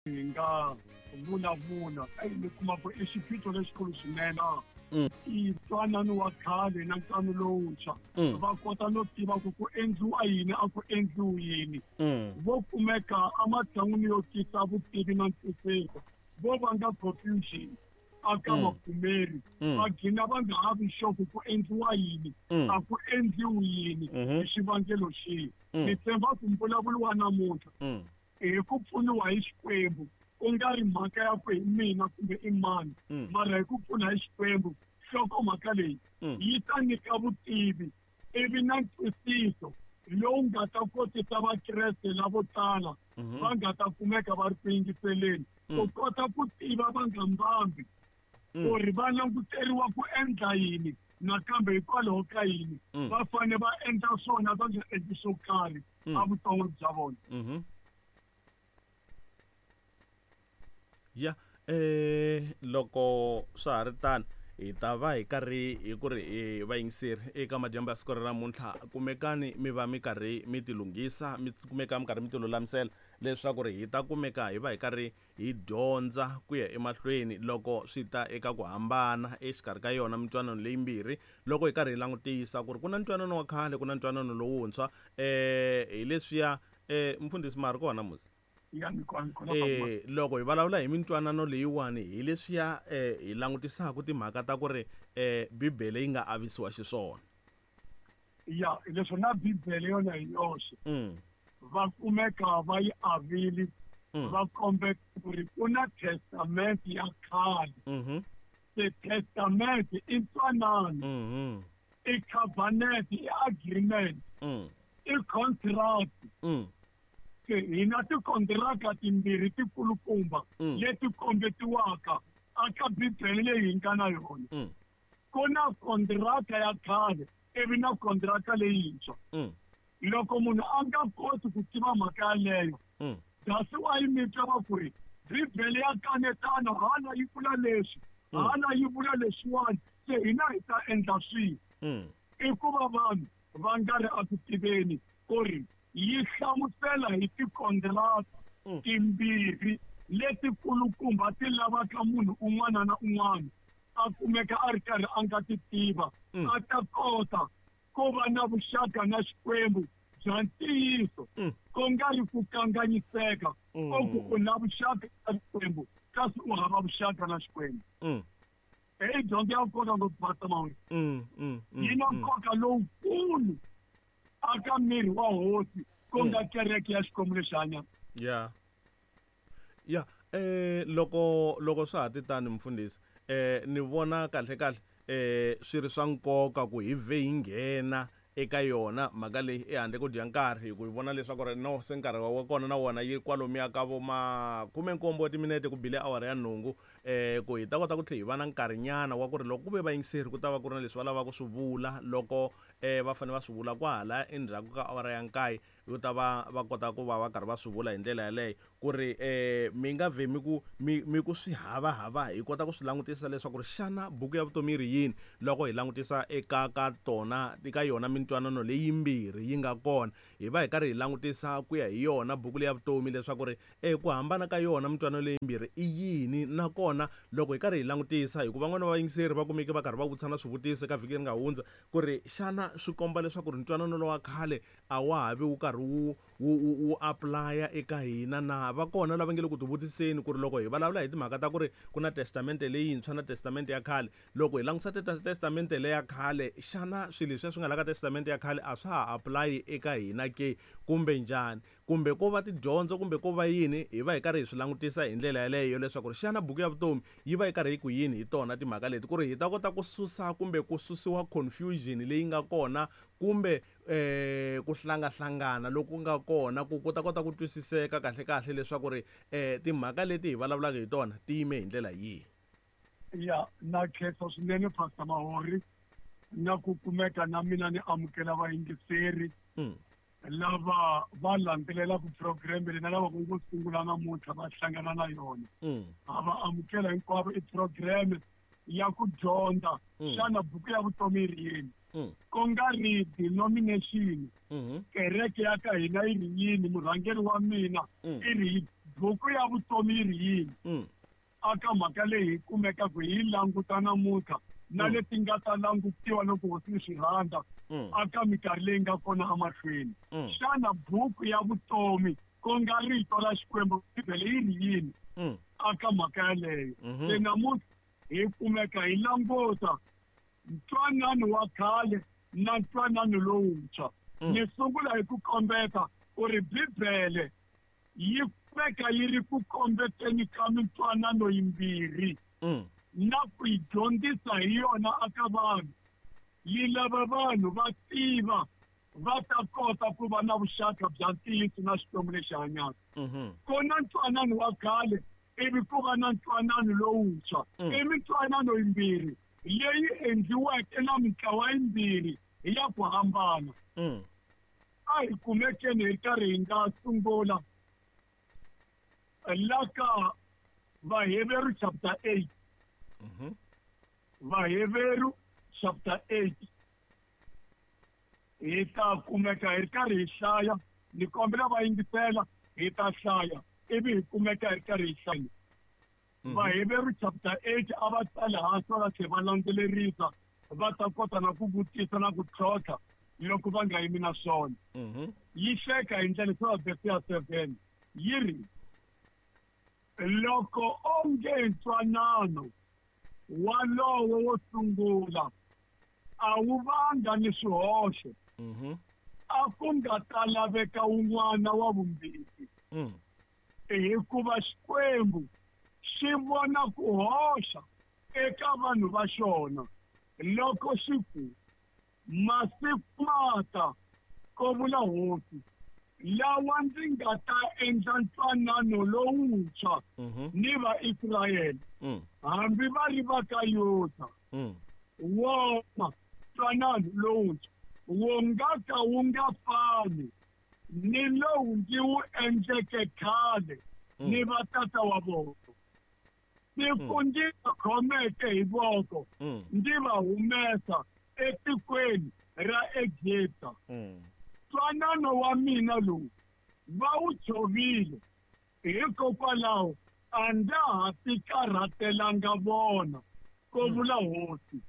Hi nga vulavula eyi mi kuma ku i xiphiqo lexikulu swinene. I ntwanano wa khale na ntwanano lowuntshwa. Va kota no tiva ku ku endliwa yini a ku endliwi yini. Vo kumeka ematshan'wini yo tisa vutivi na ntwisisa, vo vanga confusion aka vapfumeri. Va gcina va nga ha vi sure ku ku endliwa yini, a ku endliwi yini, hi xivangelo xihi. Ni tshemba ku mbulavulo wa namuntlha hi ku pfuniwa hi Xikwembu, ku nga ri mhaka ya ku hi mina kumbe i mani, mara hi ku pfuna hi Xikwembu, nhlokomhaka leyi yi ta nyika vutivi ivi na ntwisiso lowu nga ta kotisa Vakreste lavo tala va nga ta kumeka va ri ku yingiseleni ku kota ku tiva va nga mbambi ku ri va languteriwa ku endla yini nakambe hikwalaho ka yini va fanele va endla swona va nga endli swo karhi evuton'wini bya vona. Ya loko swa ha ri tano hi ta va hi karhi hi ku ri hi vayingiseri eka madyambu ya siku ra namuntlha, kumekani mi va mi karhi mi tilunghisa, mi kumeka mi karhi mi tilulamisela leswaku ri hi ta kumeka hi va hi karhi hi dyondza ku ya emahlweni loko swi ta eka ku hambana exikarhi ka yona mintwanano leyimbirhi. Loko hi karhi hi langutisa ku ri ku na ntwanano wa khale, ku na ntwanano lowuntshwa, hi leswiya mfundhisi ma ha ri kona musi? Ya, ni kona, ni kona, papa. Loko hi vulavula hi mintwanano leyiwani, hi leswiya hi langutisaka timhaka ta ku ri Bibele yi nga avisiwa xiswona. Ya, leswi na Bibele yona hi yoxe va kumeka va yi avile, va kombe ku ri ku na testamente ya khale. Se testamente i ntwanano, i covenant, i agreement, i contract. Se hi na tikontiraka timbirhi tikulukumba leti kombetiwaka aka Bibele leyi hi nga na yona. Ku na kontiraka ya khale ivi na kontiraka leyintshwa. Loko munhu a nga koti ku tiva mhaka yaleyo, that's why mi twa va ku ri Bibele ya kanetana, hala yi vula leswi, hala yi vula leswiwani, se hina hi ta endla swihi? I ku va vanhu va nga ri eku tiveni ku ri yi hlamusela hi tikontiraka timbirhi letikulukumba ti lavaka munhu un'wana na un'wana a kumeka a ri karhi a nga ti tiva, a ta kota ku va na vuxaka na Xikwembu bya ntiyiso, ku nga ri ku kanganyiseka o ku u na vuxaka na Xikwembu kasi u hava vuxaka na Xikwembu. Heyi dyondzo ya nkoka ngopfu, Pastor Mawere. Yi na nkoka lowukulu aka miri wa Hosi, ku nga kereke ya Xikwembu lexi hanyaka. Ya. Ya, loko, loko swa ha ti tani mfundhisi, ni vona kahle kahle swi ri swa nkoka ku hi vhe hi nghena eka yona mhaka leyi ehandle ko dya nkarhi, hi ku hi vona leswaku ri no se nkarhi wa kona na wona yi kwalomuya ka vo makume nkombo wa timinete ku bile awara ya nhungu, ku hi ta kota ku tlhela hi va na nkarhinyana wa ku ri loko ku ve vayingiseri ku ta va ku ri na leswi va lavaka ku swi vula loko va fanele va swi vula kwahala endzhaku ka awara ya nkaye, yo ta va va kota ku va va karhi va swi vula hi ndlela yaleyo ku ri mi nga vhe mi ku mi, mi ku swi hava-hava, hi kota ku swi langutisa leswaku ri xana buku ya vutomi yi ri yini loko hi langutisa eka ka tona, eka yona mintwanano leyimbirhi yi nga kona, hi va hi karhi hi langutisa ku ya hi yona buku leya vutomi leswaku ri ku hambana ka yona mintwanano leyimbirhi i yini. Nakona loko hi karhi hi langutisa, hikuva van'wana va vayingiseri va kumeke va karhi va vutisa na swivutiso eka vhiki leri nga hundza ku ri xana swi komba leswaku ri ntwanano lowa khale a wa ha vi wu karhi wu, wu, wu, wu apulaya eka hina na? Va kona lava nge le ku tivutiseni ku ri loko hi vulavula hi timhaka ta ku ri ku na Testamente Leyintshwa na Testamente ya Khale, loko hi langutisa Testamente leya Khale, xana swilo leswiya swi nga la ka Testamente ya Khale a swa ha apulayi eka hina ke, kumbe njhani? Kumbe ko va tidyondzo kumbe ko va yini, hi va hi karhi hi swi langutisa hi ndlela yaleyo leswaku ri xana buku ya vutomi yi va yi karhi yi ku yini hi tona timhaka leti, ku ri hi ta kota ku susa kumbe ku susiwa confusion leyi nga kona kumbe ku hlangahlangana loku nga kona, ku ku ta kota ku twisiseka kahle-kahle leswaku ri timhaka leti hi vulavulaka hi tona ti yime hi ndlela yihi. Ya, na khensa swinene Pastor Mahori na ku kumeka na mina ni amukela vayingiseri lava va landzelelaka program leyi na lava ku ngo sungula namuntlha va hlangana na yona. Ha va amukela hinkwavo. I program ya ku dyondza xana buku ya vutomi yi ri yini, ku nga ri denomination, kereke ya ka hina yi ri yini, murhangeri wa mina i ri Buku ya vutomi yi ri yini aka mhaka leyi hi kumekaka hi languta namuntlha na leti nga ta langutiwa loko hosi yi swi rhandza aka minkarhi leyi nga kona emahlweni? Xana buku ya vutomi, ku nga rito ra Xikwembu, Bibele, yi ri yini aka mhaka yaleyo? Se namuntlha hi kumeka hi languta ntwanano wa khale na ntwanano lowuntshwa. Ni sungula hi ku kombeta ku ri Bibele yi kumeka yi ri ku kombeteni ka mintwanano yimbirhi na ku yi dyondzisa hi yona aka vanhu. Yi lava vanhu va tiva, va ta kota ku va na vuxaka bya ntiyiso na Xikwembu lexi hanyaka. Ku na ntwanano wa khale, ivi ku va na ntwanano lowuntshwa. I mintwanano yimbirhi leyi endliweke na mintlawa yimbirhi ya ku hambana. A hi kumekeni hi karhi hi nga sungula la ka Vaheveru chapter 8. Vaheveru chapter 8, hi ta kumeka hi ri karhi hi hlaya. Ni kombela va yingisela, hi ta hlaya ivi hi kumeka hi ri karhi hi hlaya. Vaheveru chapter 8. A va tsale hansi, va tlhela va landzelerisa, va ta kota na ku vutisa na ku tlhontlha loko va nga yimi na swona. Yi hleka hi ndlela swa verse ya 7, yi ri: "Loko onge ntwanano walowo wo sungula a wu vanga ni swihoxo, a ku nga ta laveka wun'wana wa vumbirhi. Hikuva Xikwembu xi vona ku hoxa eka vanhu va xona loko xi ku: 'Masiku mata, ko vula Hosi, lawa ndzi nga ta endla ntwanano lowuntshwa ni Vaisrayele, hambi va ri va ka Yuda.' Wona ntwanano lowuntshwa wu nga ka wu nga fani ni lowu ndzi wu endleke khale ni vatata wa vona, siku ndzi va khomeke hi voko, ndzi va humesa etikweni ra Egipta. Ntwanano wa mina lowu va wu tshovile, hikokwalaho a ndza ha tikarhatelanga vona, ko vula Hosi.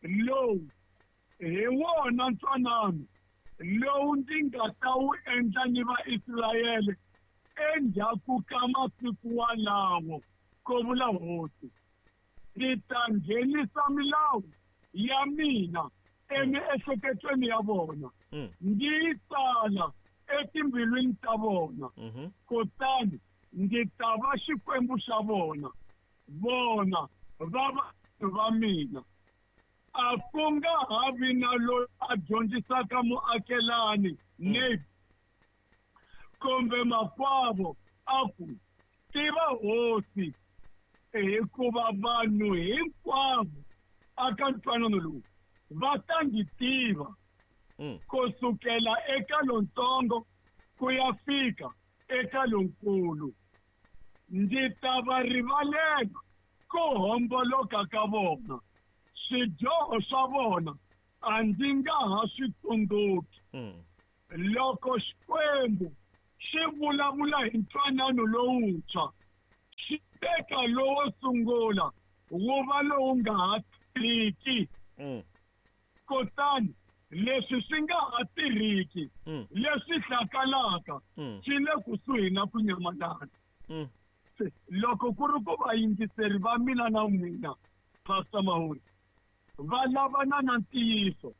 Lowu hi wona ntwanano lowu ndzi nga ta wu endla ni Vaisrayele endzhaku ka masiku walawo, ko vula Hosi. Ndzi ta nghenisa milawu ya mina emiehleketweni ya vona, ndzi yi tsala etimbilwini ta vona, kutani ndzi ta va Xikwembu xa vona, vona va vanhu va mina. A ku nga ha vi na loyi a dyondzisaka muakelani, neighbor, kumbe makwavo, a ku: 'Tiva Hosi,' hikuva vanhu hinkwavo aka ntwanano lowu va ta ndzi tiva, kusukela eka lontsongo ku ya fika eka lonkulu. Ndzi ta va rivalela ku homboloka ka vona, swidyoho swa vona a ndzi nga ha swi tsundzuki." Loko Xikwembu xi vulavula hi ntwanano lowuntshwa, xi teka lowo sungula wu va lowu nga ha tirhiki. Kutani leswi swi nga ha tirhiki, leswi hlakalaka, swi le kusuhi na ku nyamalala. Se loko ku ri ku vayingiseri va mina na n'wina, Pastor Mahuri, va lavana na ntiyiso,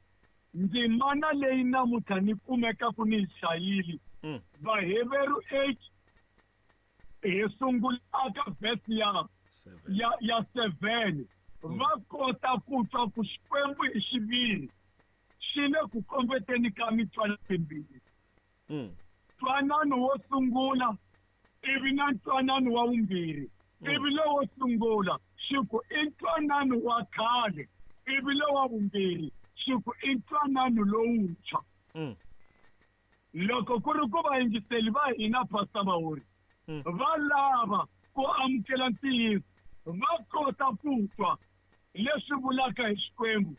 ndzimana leyi namuntlha ni kumekaku ni yi hlayile, Vaheveru 8, hi sungula aka verse ya 7. ya 7, va kota ku twa ku Xikwembu hi xiviri xi le ku kombeteni ka mintwanano yimbirhi. Ntwanano wo sungula ivi na ntwanano wa vumbirhi. Ivi lowo sungula xi ku i ntwanano wa khale, ivi lowa vumbirhi xi ku i ntwanano lowuntshwa. Loko ku ri ku vayingiseli va hina, Pastor Mahuri, va lava ku amukela ntiyiso, va kota ku twa leswi vulaka hi Xikwembu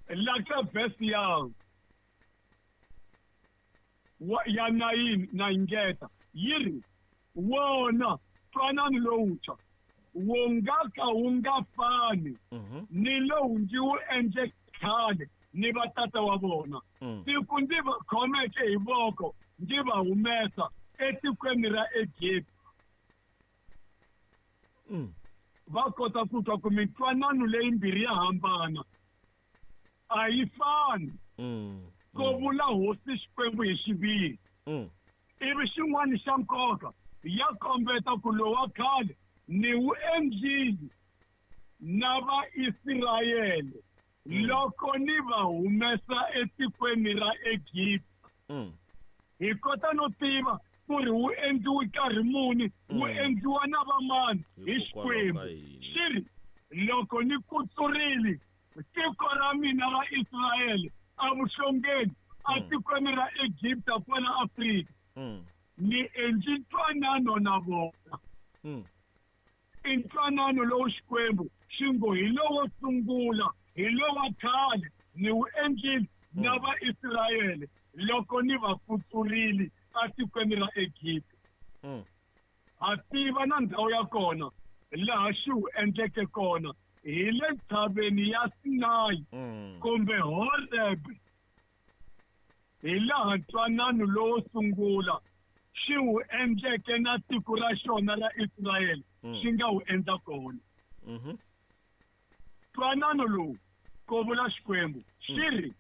la ka verse ya 9 na ingeta. Yi ri, Wona ntwanano lowuntshwa wu nga ka wu nga fani ni lowu ndzi wu endleke khale ni vatata wa vona, siku ndzi va khomeke hi voko ndzi va humesa etikweni ra Egipta. Va kota ku twa ku mintwanano leyimbirhi ya hambana, a yi fani. Ko vula Hosi Xikwembu hi xiviri. Ivi xin'wana xa nkoka, ya kombeta ku lowa khale ni wu endlile na Vaisrayele loko ni va humesa etikweni ra Egipta. Hi kota no tiva ku ri wu endliwe nkarhi muni, wu endliwa na vamani hi Hikokwalaho Xikwembu. ka yini? Xi ri, loko ni kutsurile tiko ra mina ra Israyele evuhlongeni etikweni ra Egipta kwala Afrika, ni endli ntwanano na vona. I ntwanano lowu Xikwembu xi ngo hi lowo sungula, hi lowa khale, ni wu endlile na Vaisrayele loko ni va kutsurile etikweni ra Egipta. Ha tiva na ndhawu ya kona laha xi wu endleke kona, hi le ntshaveni ya Sinayi kumbe Horeb, hi laha ntwanano lowo sungula xi wu endleke na tiko ra xona ra Israyele xi nga wu endla kona. Ntwanano lowu, ko vula Xikwembu, xi ri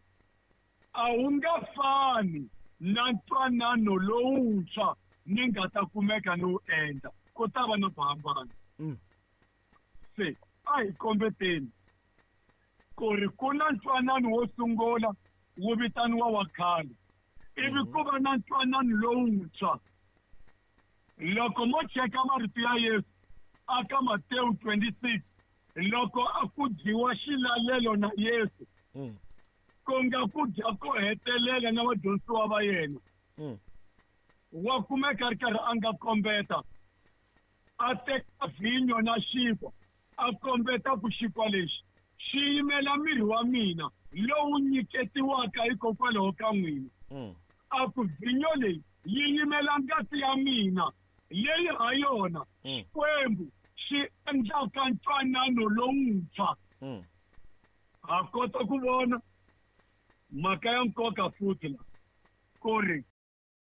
a wu nga fani na ntwanano lowuntshwa ni nga ta kumeka ni wu endla, ku ta va na ku hambana. Se a hi kombeteni ku ri ku na ntwanano wo sungula wu vitaniwa wa khale, ivi ku va na ntwanano lowuntshwa. Loko mo cheka marito ya Yesu aka Matewu 26, loko a ku dyiwa xilalelo na Yesu, ku nga ku dya ko hetelela na vadyondzisiwa va yena, wa kumeka a ri karhi a nga kombeta, a teka vhinyo na xinkwa, a kombeta ku xinkwa lexi xi yimela miri wa mina lowu nyiketiwaka hikokwalaho ka n'wina. A ku vhinyo leyi yi yimela ngati ya mina leyi ha yona Xikwembu xi endlaka ntwanano lowuntshwa. Ha kota ku vona mhaka ya nkoka futhi la, ku ri